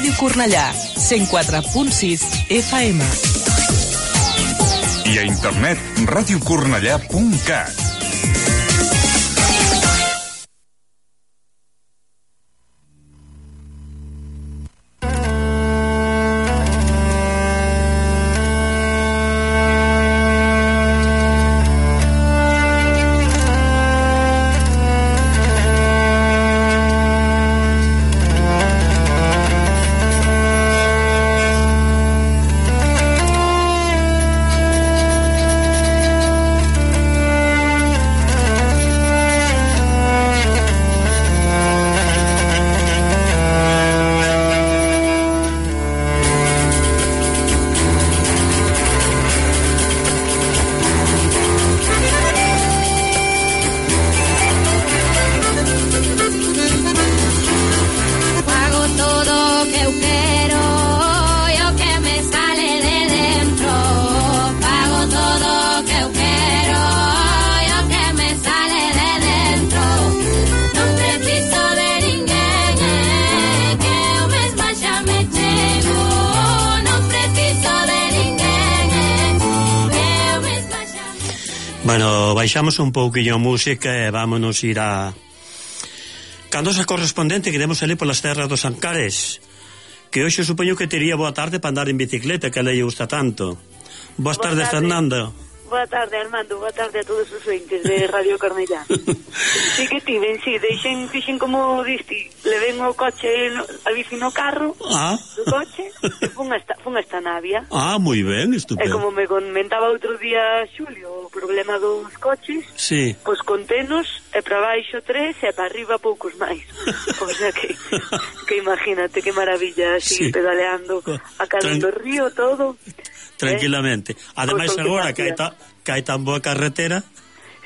Ràdio Cornellà, 104.6 FM. I a internet, radiocornellà.cat. Bueno, baixamos un pouquinho a música e vámonos ir a Candosa correspondente que demos ali polas terras dos Ancares, que hoxe supoño que tería boa tarde para andar en bicicleta, que a lei gusta tanto. Boas tardes, Fernando. Boa tarde, Armando, boa tarde a todos os ointes de Radio Cornellá. Sí que tiven, sí, fixen como diste, leven o coche, a bici no carro, do coche, e fun hasta Navia. Moi ben, estupendo. E como me comentaba outro día Xulio, o problema dos coches, sí, pois contenos, e para baixo 3, e para arriba poucos máis. O sea que imagínate, que maravilla, así, sí, pedaleando a cara do río, todo. Tranquilamente. Ademais agora que hai tan boa carretera.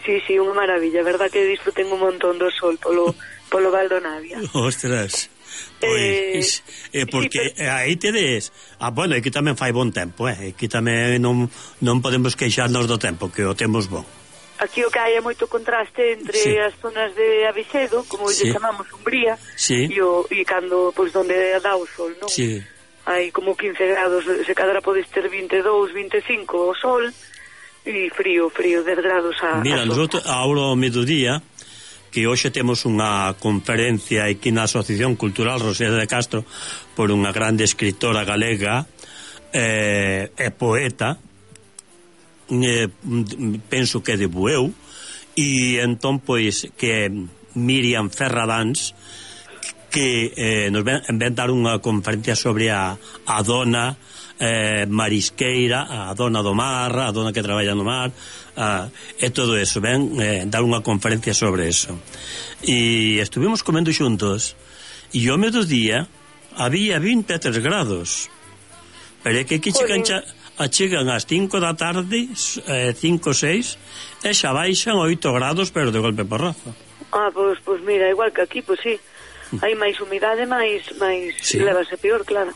Sí, unha maravilla, verdad que disfruten un montón do sol polo Val do Navia. Ostras. Pois, porque sí, aí tedes... bueno, aquí tamén fai bon tempo, aquí tamén non podemos queixarnos do tempo, que o temos bon. Aquí o que hai é moito contraste entre sí, as zonas de Avicedo, como sí, lle chamamos Umbría, sí, e cando, pois, donde dá o sol, non? Sí. Hai como 15 grados, se cadra podes ter 22, 25 o sol, e frío, 10 grados a... Mira, nosotros ahora ao mediodía, que hoxe temos unha conferencia aquí na Asociación Cultural Rosalía de Castro por unha grande escritora galega e poeta, penso que de Bueu, e entón pois que Miriam Ferradáns, que nos ven dar unha conferencia sobre a dona marisqueira, a dona do mar, a dona que traballa no mar, e todo eso, ven dar unha conferencia sobre eso. E estuvimos comendo xuntos, e ao mediodía había 23 grados, pero é que aquí chegan ás 5 da tarde, 5 ou 6, e xa baixan 8 grados, pero de golpe porrazo. Pois mira, igual que aquí, pois sí, hai máis humidade, máis sí, levase peor, claro.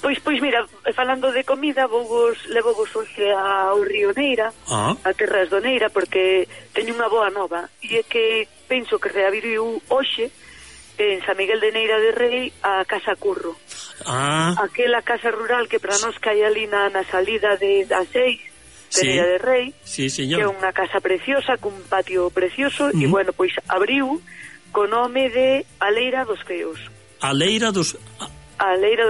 Pois mira, falando de comida, levovos hoxe ao río Neira, a Terras do Neira, porque teño unha boa nova, e é que penso que reabriu hoxe en San Miguel de Neira de Rei a Casa Curro. Aquela casa rural que para nós cae ali na salida da 6 de sí, Neira de Rei, sí, que é unha casa preciosa, cun patio precioso, e bueno, pois abriu co nome de A Leira dos Feos. A Leira dos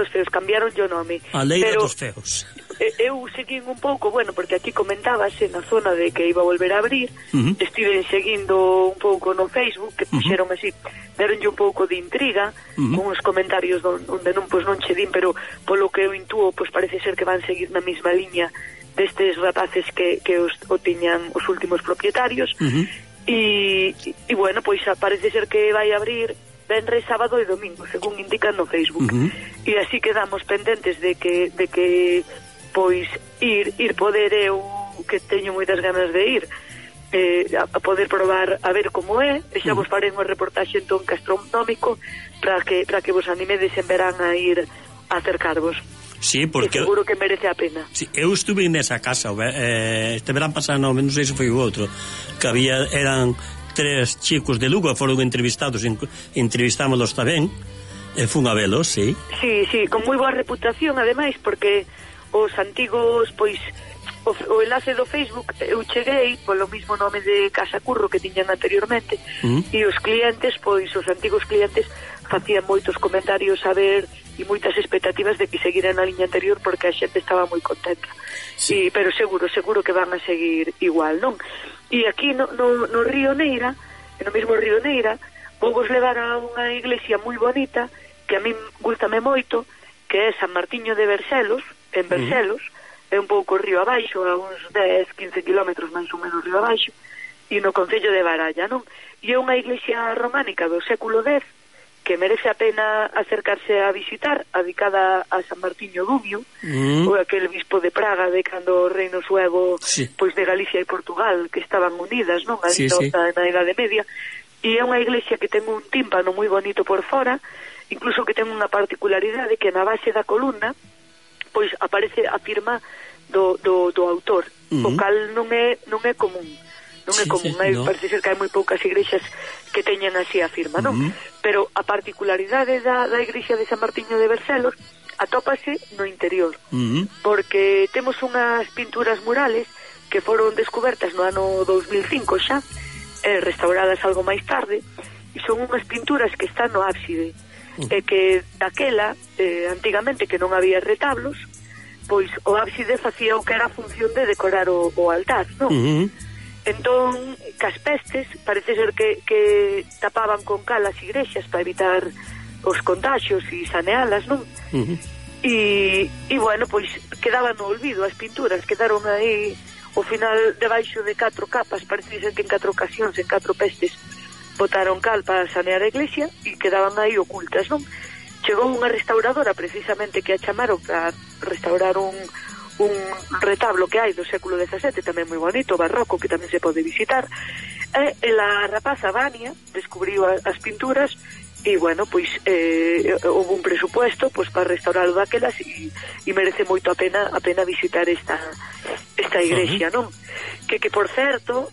Feos, cambiaron o nome. A Leira dos Feos. Eu seguín un pouco, bueno, porque aquí comentábase na zona de que iba a volver a abrir, estiven seguindo un pouco no Facebook, que puxeron así, deronlle un pouco de intriga, con uns comentarios onde non che din, pero polo que eu intuo, pois parece ser que van seguir na mesma liña destes rapaces que o tiñan os últimos propietarios, e bueno, pois parece ser que vai abrir venres, sábado e domingo, según indican no Facebook. E así quedamos pendentes de que pois ir poder, eu que teño moitas ganas de ir a poder probar a ver como é, e xa vos farei unha reportaxe entón gastronómico para que vos animedes en verán a ir a acercarvos. Sí, porque seguro que merece a pena. Sí, eu estuve nesa casa este verán pasado, non sei se foi o outro, que eran 3 chicos de Lugo, foron entrevistámolos tamén, fun a velo, sí. Sí, con moi boa reputación, ademais, porque os antigos, pois, o enlace do Facebook eu cheguei polo mismo nome de Casa Curro que tiñan anteriormente, e os clientes, pois, os antigos clientes facían moitos comentarios a ver e moitas expectativas de que seguiran na liña anterior porque a xente estaba moi contenta. Sí. Pero seguro que van a seguir igual, non? E aquí no Río Neira, no mesmo Río Neira, vou vos levar a unha iglesia moi bonita que a min gustame moito, que é San Martiño de Bercelos, en Bercelos, é un pouco río abaixo, a uns 10-15 kilómetros máis ou menos río abaixo, e no concello de Baralla, non? E é unha iglesia románica do século X que merece a pena acercarse a visitar, adicada a San Martiño Dumio, ou aquel bispo de Praga de cando o reino suevo, pois de Galicia e Portugal, que estaban unidas, non? Na Idade Media, e é unha iglesia que ten un tímpano moi bonito por fora, incluso que ten unha particularidade que na base da columna pois aparece a firma do autor, o cal non é común. Non é común, parece ser que hai moi poucas igrexas que teñan así a firma, non? Pero a particularidade da igrexa de San Martiño de Bercelos atópase no interior, porque temos unhas pinturas murales que foron descubertas no ano 2005 xa, restauradas algo máis tarde, e son unhas pinturas que están no ábside, que daquela, antigamente que non había retablos, pois o ábside facía o que era a función de decorar o altar, non? Entón, cas pestes, parece ser que tapaban con cal as igrexas para evitar os contagios e sanealas, non? E bueno, pois quedaban no olvido as pinturas, quedaron aí ao final debaixo de 4 capas, parece ser que en 4 ocasións, en 4 pestes, botaron cal para sanear a iglesia e quedaban aí ocultas, non? Chegou unha restauradora precisamente que a chamaron para restaurar un retablo que hai do século XVII, tamén moi bonito, barroco, que tamén se pode visitar, e a rapaza Vania descubriu as pinturas e, bueno, pois houve un presupuesto pois para restauralo daquelas e merece moito a pena visitar esta igrexa, non? Que por certo,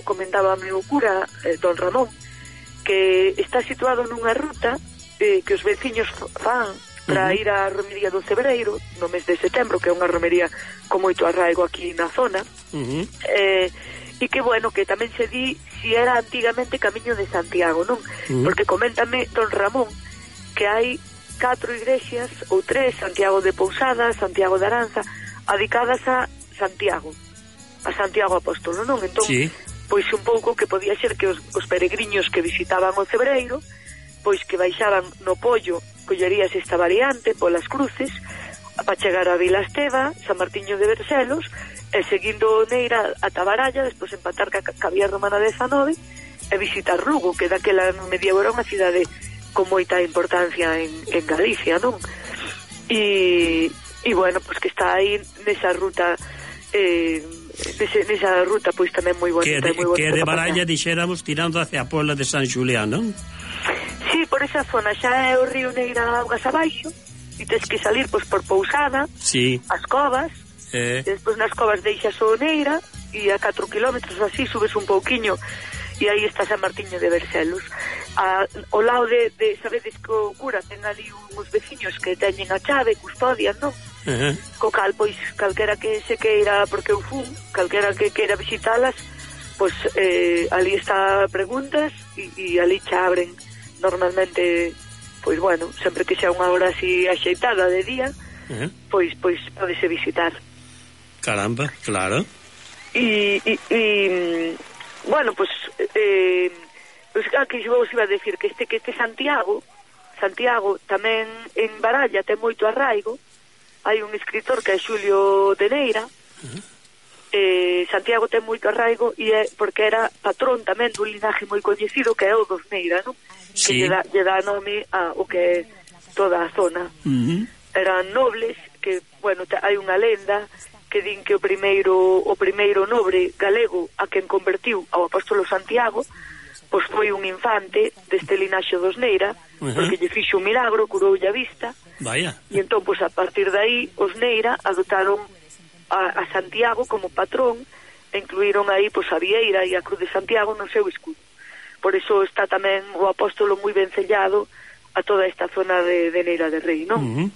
comentaba o cura, don Ramón, que está situado nunha ruta que os veciños fan para ir á romería do Cebreiro no mes de setembro, que é unha romería con moito arraigo aquí na zona, e que, bueno, que tamén se di si era antigamente Camiño de Santiago, non? Porque coméntame don Ramón que hai 4 igrexas ou 3, Santiago de Pousada, Santiago de Aranza, adicadas a Santiago Apóstolo, non? Entón, pois un pouco que podía ser que os peregriños que visitaban o Cebreiro, pois que baixaban no Pollo, collerías esta variante polas cruces para chegar a Vila Esteva, San Martiño de Bercelos, e seguindo Neira ata Baralla, despois empatar ca vía romana 19 e visitar Lugo, que daquela no medievo era unha cidade con moita importancia en Galicia, non? E bueno, pois que está aí nesa ruta nesa ruta pois tamén moi bonita, que de Baralla dixéramos tirando hacia a Puebla de San Xulián, non? Sí, por esa zona xa é o río Neira augas abaixo e tens que salir pois por Pousada, as covas, e despois nas covas deixas o Neira e a 4 kilómetros así subes un pouquiño e aí está San Martiño de Bercelos. Ao lado de sabedes que o cura ten ali uns veciños que teñen a chave, custodian, non? Co cal, pois, calquera que se queira, porque eu fun, calquera que queira visitalas, pois ali está preguntas e ali xa abren normalmente, pois bueno, sempre que xa unha hora así axeitada de día, pois podese visitar. Caramba, claro. E bueno, pois que vos iba a decir que este Santiago tamén en Baralla ten moito arraigo. Hai un escritor que é Xulio de Neira. Santiago ten moito arraigo e é porque era patrón tamén dun linaje moi coñecido que é o dos Neira, non? Que lle dá nome a o que é toda a zona. Eran nobles que, bueno, hai unha lenda que din que o primeiro nobre galego a quen convertiu ao apóstolo Santiago pois foi un infante deste linaxe dos Neira, porque lle fixo un milagro, curoulle a vista. Vaya. E entón, pois, a partir de aí, os Neira adotaron a Santiago como patrón e incluíron aí, pois, a vieira e a cruz de Santiago no seu escudo. Por iso está tamén o apóstolo moi ben sellado a toda esta zona de Neira de Rei, non?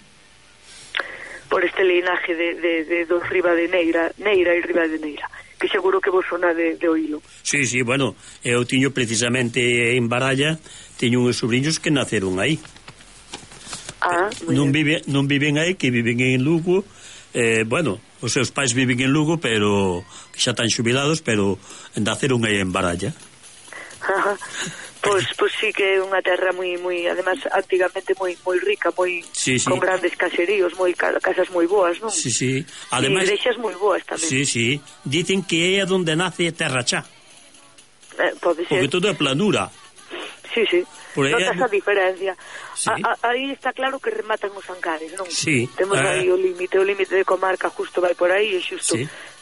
Por este linaje de dos Riba de Neira e Riba de Neira, que seguro que vos sona de oílo. Sí, bueno, eu tiño precisamente en Baralla, teño uns sobrinhos que naceron aí. Non viven aí, que viven en Lugo. Bueno, os seus pais viven en Lugo, pero que xa están xubilados, pero naceron aí en Baralla. Pois sí que é unha terra moi además antigamente moi rica, con grandes caseríos, casas moi boas, non? Sí. Ademais, e igrexas moi boas tamén. Sí. Dicen que é onde nace Terra Chá. Pode ser. Porque todo é planura. Sí. Notas a diferencia. Sí. Aí está claro que rematan os Ancares, non? Sí. Temos aí o límite de comarca justo vai por aí e xusto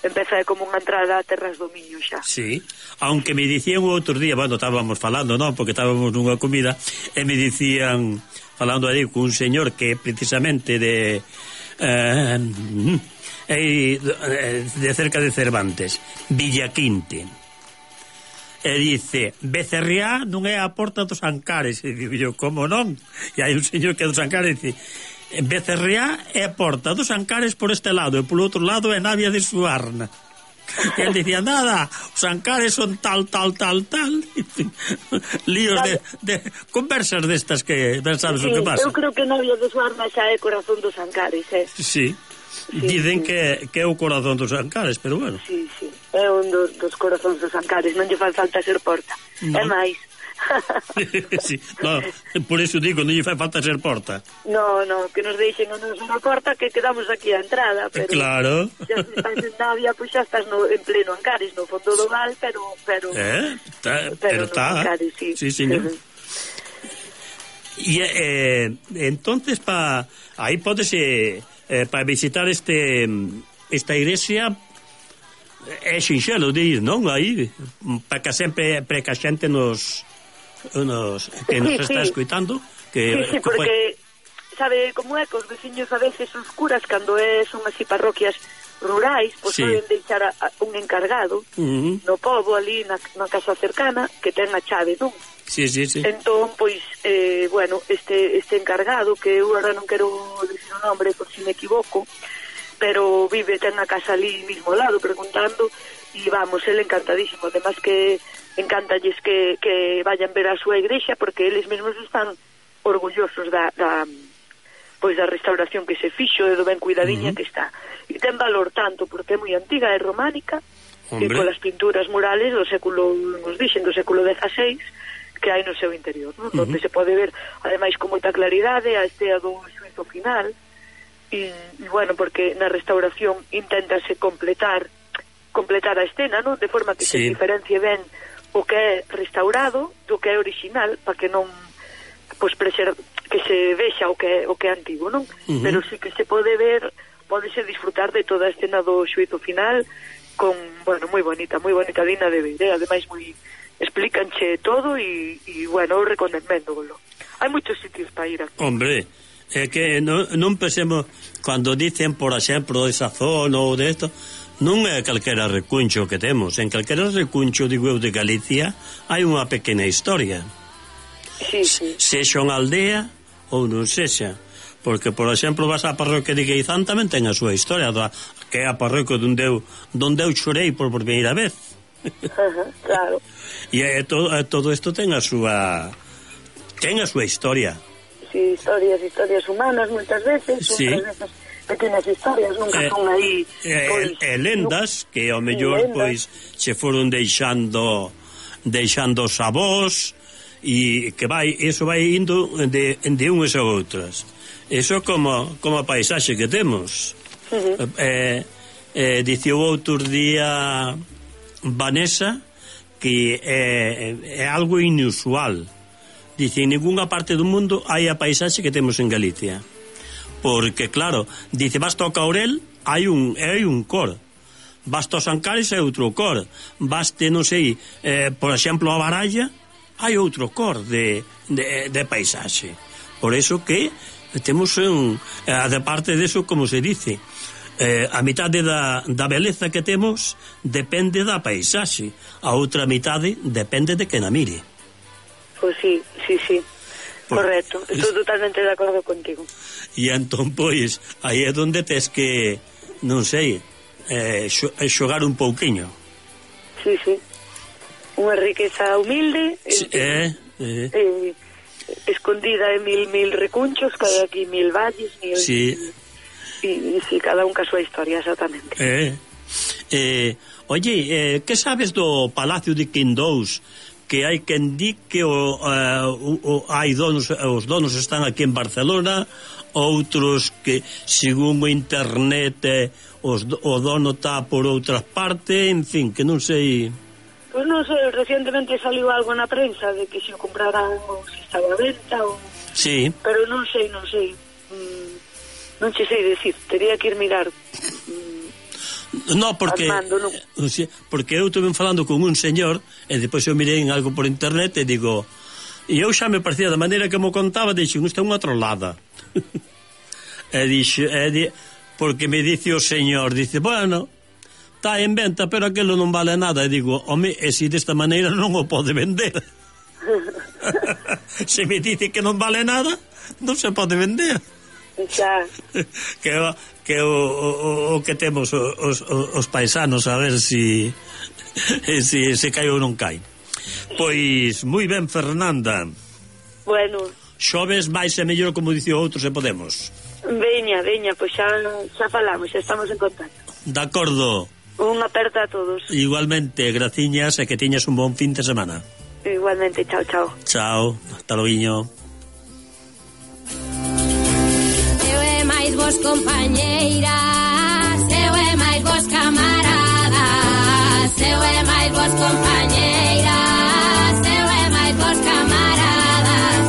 empeza como unha entrada a terras do Miño xa. Sí. Aunque me dicían o outro día, bueno, estábamos falando, non? Porque estábamos nunha comida e me dicían, falando aí con un señor que precisamente de cerca de Cervantes, Villaquinte. E dice, Becerriá non é a porta dos Ancares. E digo yo, como non? E hai un señor que é dos Ancares e dice, Becerriá é a porta dos Ancares por este lado e por outro lado é Navia de Suarna. E él dicía, nada, os Ancares son tal. Líos de conversas destas que ben sabes o que pasa. Eu creo que Navia de Suarna xa é corazón dos Ancares, Sí. Dicen que é o corazón dos Ancares, pero bueno. Sí, é un dos corazóns dos Ancares, non lle fai falta ser porta. É máis. Sí, no, por eso digo, non lle fai falta ser porta. No, que nos deixen a nosa porta, que quedamos aquí a entrada, pero claro. Xa se estás en Navia, pois xa estás en pleno Ancares, no fondo do val, pero está. Ancares, sí, señor. E entonces aí podese para visitar esta iglesia é sinxelo de ir, non? Aí para que sempre que a xente nos está escoitando que porque sabe como é que os veciños a veces os curas cando son así parroquias rurais, pois poden deixar un encargado no pobo ali na casa cercana que ten a chave, non? Sí. Entón, pois, bueno, este encargado, que eu agora non quero dicir o nombre por si me equivoco, pero ten a casa ali mismo ao lado preguntando, e vamos, ele encantadísimo, además que encántalles que vayan ver a súa igrexa, porque eles mesmos están orgullosos da restauración que se fixo e do ben cuidadiña que está. E ten valor tanto porque é moi antiga, é románica, e polas pinturas murales do século, nos dixen, do século XVI, que hai no seu interior, non? Donde se pode ver, ademais, con moita claridade a estea do xuízo final e bueno, porque na restauración inténtase completar a escena, non? De forma que se diferencie ben o que é restaurado do que é original, para que non que se vexa o que é antigo, non? Pero sí que se pode ver, podese disfrutar de toda a escena do xuízo final con, bueno, moi bonita, digna de ver, ademais moi explícanche todo e bueno, eu recomendándolo. Hai moitos sitios para ir aquí. Hombre, é que non pensemos cando dicen, por exemplo, esa zona ou de esto, non é calquera recuncho que temos. En calquera recuncho, digo eu, de Galicia hai unha pequena historia. Sí. Sexa unha aldea ou non sexa, porque, por exemplo, vas á parroquia de Gueizán tamén ten a súa historia, que é a parroquia donde eu chorei por primeira vez. Claro. E todo isto ten a súa historia. Sí, historias humanas moitas veces, outras veces pequenas historias, nunca son aí lendas que ao mellor pois se foron deixando os avós e que eso vai indo de unhas a outras. Eso como a paisaxe que temos. Dicía o outro día Vanessa que é algo inusual. Dice, en ninguna parte do mundo hai a paisaxe que temos en Galicia. Porque, claro, dice, basta ao Caurel, hai un cor. Basta aos Ancares, hai outro cor. Baste, non sei, por exemplo, a Baralla, hai outro cor de paisaxe. Por eso que temos de parte deso, como se dice, a mitade da beleza que temos depende da paisaxe, a outra mitade depende de que na mire. Pois sí. Correcto, estou totalmente de acordo contigo. E entón, pois, aí é onde tes que, non sei, xogar un pouquiño. Sí, sí. Unha riqueza humilde, escondida en mil recunchos, cada aquí 1000 valles, sí. E sí, cada un ca súa historia, exactamente. Oye, que sabes do Palacio de Quindous? Que hai quen di que hai donos, os donos están aquí en Barcelona, outros que, según o internet, o dono está por outras partes, en fin, que non sei. Pois non sei, recientemente saliu algo na prensa de que se o compraran ou se estaba a venta ou... Sí. Pero non sei. Non che sei decir, teria que ir mirar. No, porque Armando, non. Porque eu estuve falando con un señor e depois eu mirei en algo por internet e digo, e eu xa me parecía da maneira que mo contaba, dixo, isto é unha trolada. Porque me dice o señor, dice, bueno, está en venta, pero aquilo non vale nada. E digo, home, e si desta maneira non o pode vender. Se me dice que non vale nada, non se pode vender. Xa. Que o que temos os paisanos, a ver si cai ou non cai. Pois, moi ben, Fernanda. Bueno. Xoves máis e mellor, como dice o outro, se podemos. Veña, pois xa falamos, xa estamos en contacto. De acordo. Unha aperta a todos. Igualmente, graciñas e que tiñas un bon fin de semana. Igualmente, chao. Chao, hasta loguiño. Vos compañeiras, eu e máis vos camaradas, eu e máis vos compañeiras, eu e máis vos camaradas,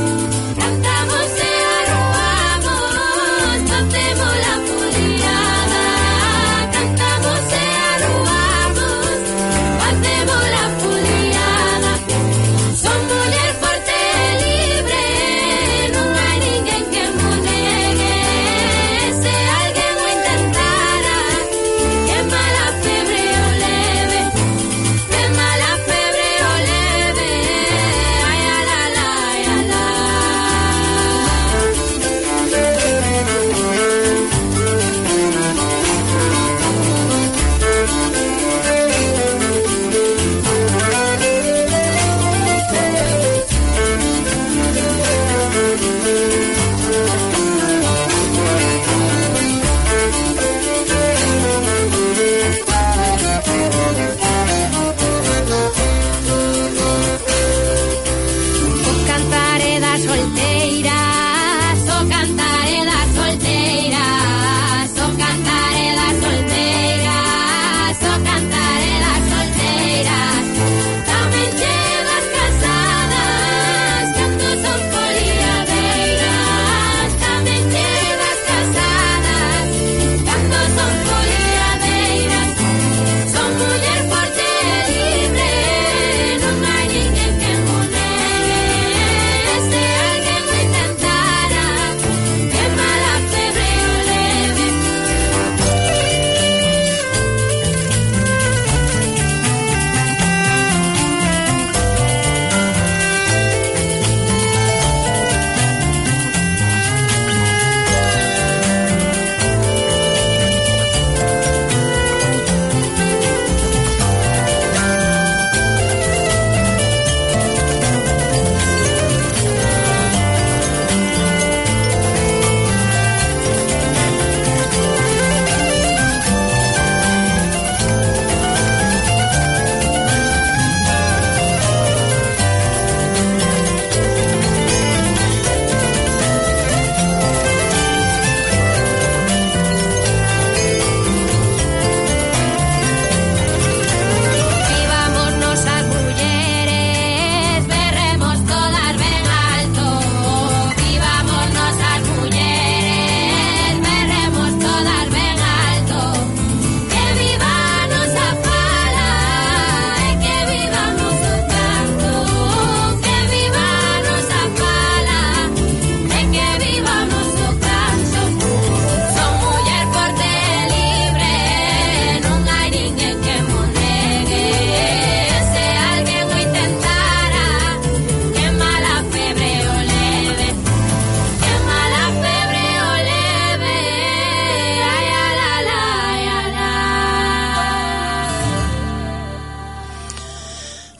cantamos e arruamos, facemos la foliada, cantamos e arruamos, facemos la foliada, son muller forte e libre, non hai ninguén que mo negue. Quema la febre o leve, quema la febre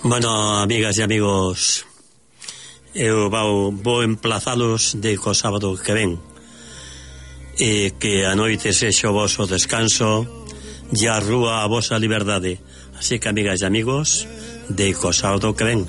Bueno, amigas e amigos, eu vou emplazalos de co sábado que ven, e que a noite sexa o voso descanso e a rúa a vosa liberdade. Así que, amigas e amigos, de co sábado que ven.